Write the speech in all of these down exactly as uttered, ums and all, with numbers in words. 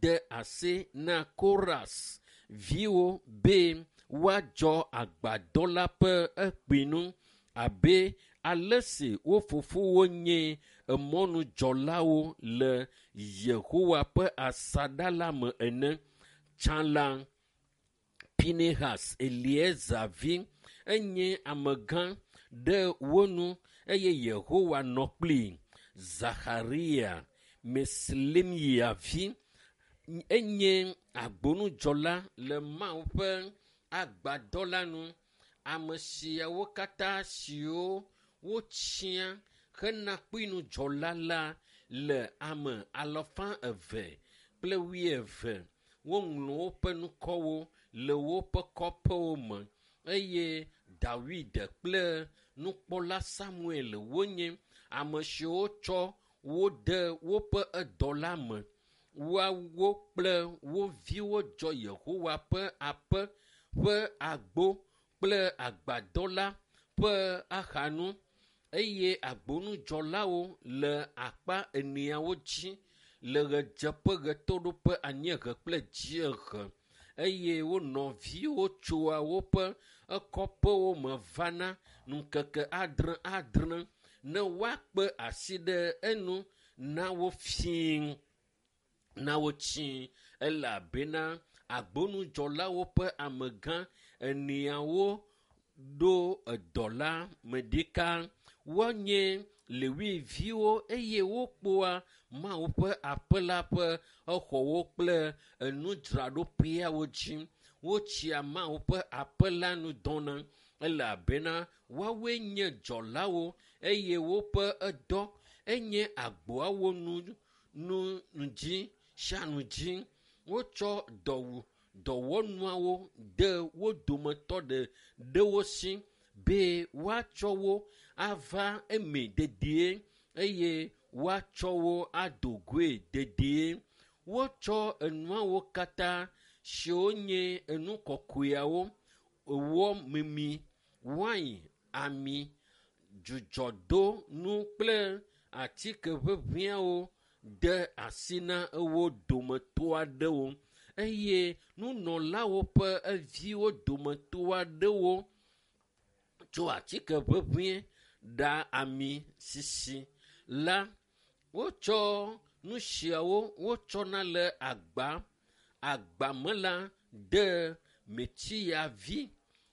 De asi na Koras viwo be woadzɔ agbadɔ la ƒe ekpinu abe ale si wo fofowo nye emɔnudzɔlawo le Yehowa ƒe asaɖa la me ene. Tsã la, Pinehas Eleazar vi enye amegã ɖe wo nu eye Yehowa nɔ kplii. Zaxaria Meselemia vi enye agbonudzɔla le Mawu ƒe agbadɔ la nu. Ame siawo katã siwo wotsia hena kpuinudzɔla la le ame alafa eve kple wuieve. Woŋlɔ woƒe ŋkɔwo le woƒe kɔƒewo me eye Dawid kple nukpɔla Samuel wonye ame siwo tsɔ wo de woƒe edɔ la me. Woawo kple wo viwo dzɔ Yehowa ƒe aƒe ƒe agbo kple agbadɔ la ƒe axanu eye agbonudzɔlawo le akpa eneawo dzi le ɣedzeƒe, ɣetoɖoƒe, anyiehe kple dziehe eye wo nɔviwo tsoa woƒe ekɔƒewo me vana ŋkeke adre adre ne woakpe asi ɖe enu na wo fii na wo tsi elabena agbonudzɔlawo ƒe amegã eneawo ɖo edɔ la me ɖeka. Wonye Lewiviwo eye wokpɔa Mawu ƒe aƒe la ƒe exɔwo kple enudzraɖoƒeawo dzi. Wotsia Mawu ƒe aƒe la nu dɔna elabena woawoe nye dzɔlawo eye woƒe edɔ enye agboawo nu nu dzi sia nu dzi. Wotsɔ dɔwu dɔwɔnuawo de wo dometɔ ɖe ɖewo si be woatsɔ wo ava eme dedie eye woatsɔ wo ado goe dedie. Wotsɔ enuawo katã siwo nye enu kɔkɔeawo, wɔ mimi, wain, ami, dzudzɔdonu kple atike ʋeʋĩawo de asi na wo dometɔ aɖewo eye nunɔlawo ƒe eviwo dometɔ aɖewo tso atike ʋeʋĩe ɖa ami sisi la. Wotsɔ nu siawo wotsɔna le agba agba me la de Metsiya vi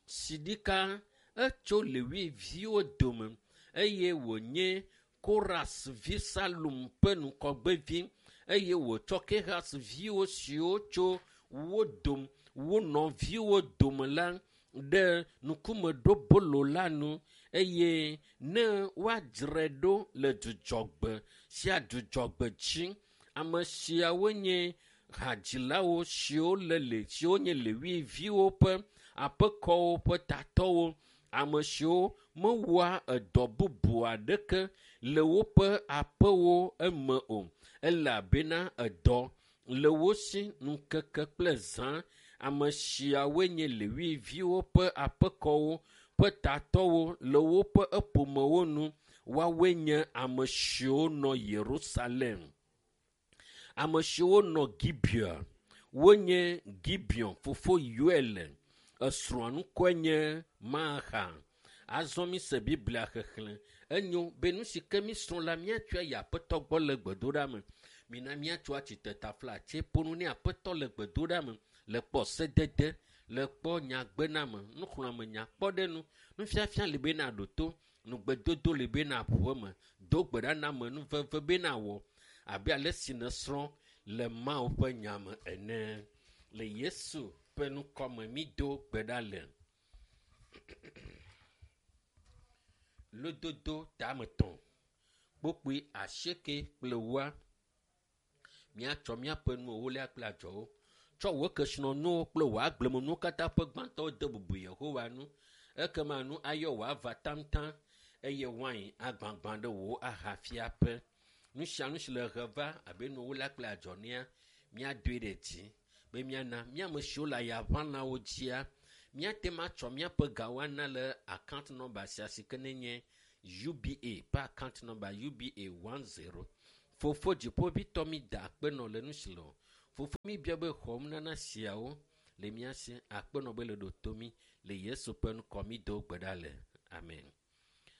si ɖika etso Lewi viwo dome eye wònye Koras vi Salum ƒe ŋgɔgbevi eye wòtsɔ Kehas viwo siwo tso wo dome wo nɔviwo dome la ɖe ŋkumeɖobolo la nu eye ne woadzrae ɖo le dzudzɔgbe sia dzudzɔgbe dzi. Ame siawo nye hadzilawo siwo le le siwo nye Lewi viwo ƒe aƒekɔwo ƒe tatɔwo. Ame siwo mewɔa edɔ bubu aɖeke le woƒe aƒewo eme o elabena edɔ le wo si ŋkeke kple zã. Ame siawoe nye Lewi viwo ƒe aƒekɔwo ƒe tatɔwo le woƒe eƒomewo nu. Woawoe nye ame siwo nɔ Yerusalem. Ame siwo nɔ Gibea wonye Gibeon fofo Yoel. Esrɔ̃a ŋkɔe nye Maaxa. Azɔ mise Biblia xexlẽ. Enyo be nu si ke mísrɔ̃ la míatsɔe yi Aƒetɔ gbɔ le gbedoɖa me. Mina míatso atsitre taflatse ƒo nu ne Aƒetɔ le gbedoɖa me le kpɔ sedede, le kpɔ nyagbename, nuxlɔ̃ame nyakpɔɖenu, nufiafia li be naɖo to, nugbedodo li be naʋu eme, do gbe ɖa na ame nuveve be nawɔ abe ale si nèsrɔ̃ le Mawu ƒe nya me ene. Le Yesu ƒe ŋkɔme mído gbe ɖa le. Lododo tametɔ̃ kpokpui asieke kple woa. Míatsɔ míaƒe nu ewolia kple adzɔwo. Tsɔ wò kesinɔnuwo kple wò agblemenuwo katã ƒe gbãtɔwo de bubu Yehowa ŋu. Ekema nu ayɔ wò ava taŋtaŋ eye wain agbagbã ɖe wò ahafiaƒe. Nu sia nu si le he va abe nu ewolia kple adzɔ nea, míadoe ɖe dzi be míana míame siwo le ayaʋãlawo dzia, míate ŋu atsɔ míaƒe gawo ana le account number sia si ke nenye U B A ƒe account number U B A one zero. Fofo dziƒoʋĩtɔ mi da akpe nɔ le nu si le o. Fofo mi bia be xɔ nunana siawo le mía si akpenɔ be le ɖo to mí le Yesu ƒe ŋkɔ mi do gbe ɖa le. Amen.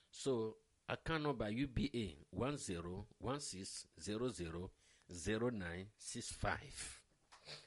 So account number U B A one zero one six zero zero zero nine six five.